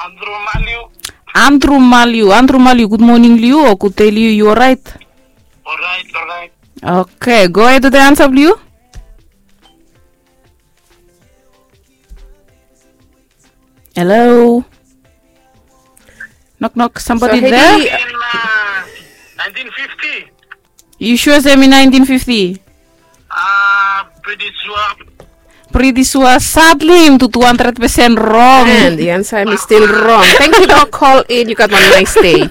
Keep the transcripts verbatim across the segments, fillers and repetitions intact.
Andrew Maliu. Andrew Maliu, Andrew Maliu, gud moning long yu o gud dei long yu, yu oraet? Oraet, oraet. Oke, go ahed wetem ansa blong yu. Hello. Knock knock, somebody there? In uh, nineteen fifty. Yu sua se hemi nineteen fifty? Ah, pretty sua. Pretty sua, sadly hemi tu two hundred percent rong. And the answer is still wrong. Thank you for call in. You got one nice day.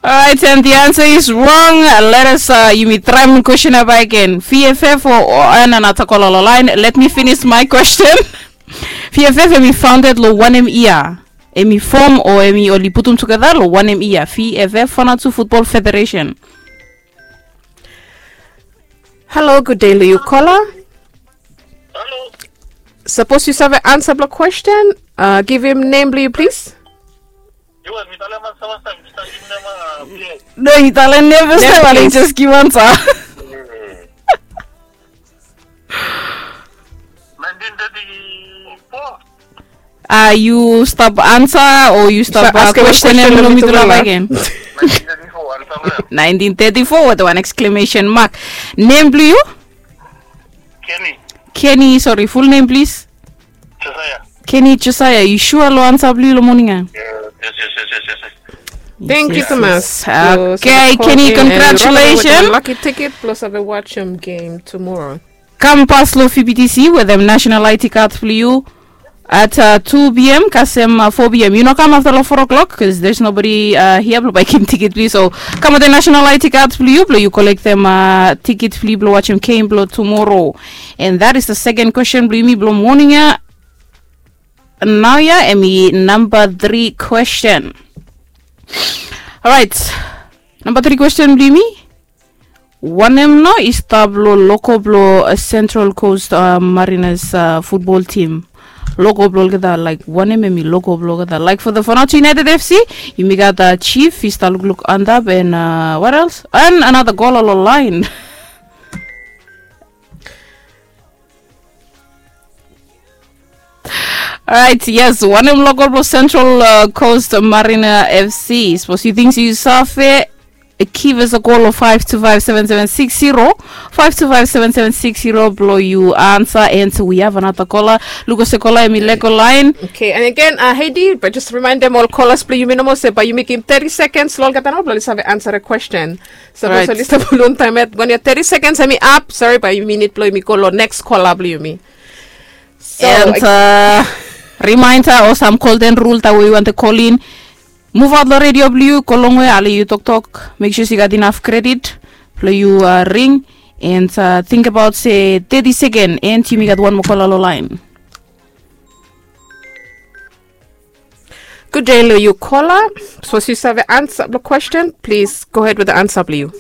Alright, and the answer is wrong. Let us uh, yumi traem kwestin ya bak gen. Vff o ananata kola long laen. Let me finish my question. Vff hemi founded long wanem yia? Hemi fom o hemi oli putum tugeta long wanem yia? Vff, Vanuatu Football Federation. Halo, gud dei long yu kola. Halo. Sapos yu save ansa blong kwestin, givim nem blong yu plis. Yu wan mi talem ansa fastaem, mi stap givim nem. No, yu talem nem fastaem, ale yu jes givim ansa. Nineteen thirty-four. A yu stap ansa o yu stap kwestenem long mi tufala bak gen? Nineteen thirty-four wetem wan exclamation mark. Nem blong yu? Kenny. Kenny, sori, ful nem plis? Josiah. Kenny Josiah, yu sua long ansa blong yu long moning ya? Yes, yes, yes, yes, yes. Thank you so much. Okay, Kenny, congratulations. Lucky ticket plus save watch game tomorrow. Kam pas long V B T C wetem national I D card blong yu at uh, two p.m. kasem uh, four p.m. Yu no kam afta long four o'clock because there's nobody uh, here blong baekim tiket blong yu. So kam wetem national I D card blong yu blong yu kolektem uh, tiket blong yu blong watchem game blong tomorrow. And that is the second question blong yumi blong moning ya. Nao ya hemi namba tri kwestin. Alright. Namba tri kwestin blong yumi. Wanem nao i stap long logo blong Central Coast Mariners futbol tim? Logo blong olgeta, laik, wanem hemi logo blong olgeta? Laik, for the Vanuatu United F C, yumi gat Chief i stap lukluk antap, and what else? And another gola long laen. Alright, yes, wanem logo blong Central Coast Mariner F C? Sapos yu ting se yu save, give us a call long five two five seven seven six zero, five two five seven seven six zero blong yu ansa. And we have another caller. Luk olsem caller hemi lego laen. Okay, and again, uh, Heidi, but just remind them all callers blong yumi nomo se bae yumi givim thirty seconds long olgeta nao blong oli save answer a question. Sapos oli stap long taem yet, wan ya thirty seconds hemi ap. Sori, bae yumi nid blong yumi go long next caller blong yumi. So, and uh, reminder o sam golden rule taem we yu wantem call in, muv aot long redio blong yu, go longwe, ale yu toktok, make sure se yu gat inaf kredit blong yu ring. And uh, tingbaot se thirty second, and yumi gat wan moa caller long laen. Gud dei long yu caller. Sapos yu save ansa blong kwestin, plis go hed wetem ansa blong yu.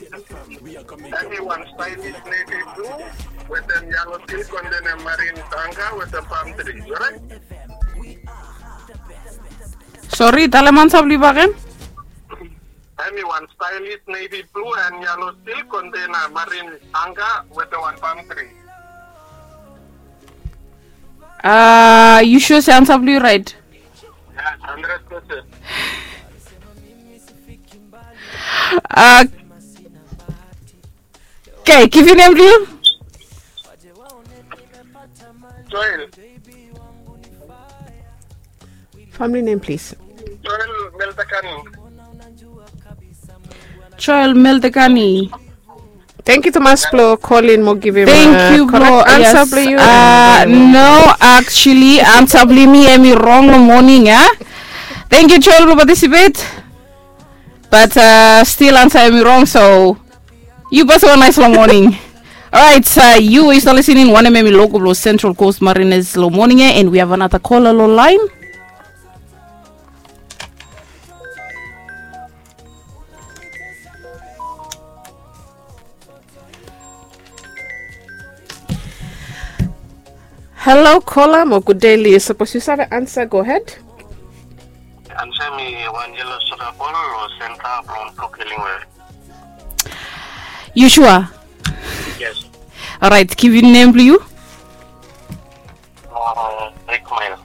Hemi wan stylish navy blue wetem yalo silk, and then a marine tanga wetem palm tree, oraet? Sori, talem ansa blong yu bakegen. Hemi wan stylish navy blue and yalo silk, and then a marine tanga wetem wan palm tree. A yu sua se ansa blong yu raet? Yes, hundred percent. Okay, givim nem blong yu. Joel. Family name, please. Joel Meltekani. Joel Meltekani. Thank you tumas blong call in mo givim. Thank you blong ansa blong yu. No, actually ansa blong yumi hemi rong long moning ya. Thank you Joel blong participate. But uh, still ansa hemi rong, so yu basa wan naes long moning. Alright, uh, yu i stap listening wanem hemi logo blong Central Coast Mariners long moning ya, and we have another caller long laen. Halo, kola mo gud dei long yu. Sapos yu save ansa, go hed. Ansa hemi wan yelo soda bol long senta blong Blue Killingworth. Yu sua? Yes. Alright, givim nem blong yu. Rick Mail.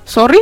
Sori?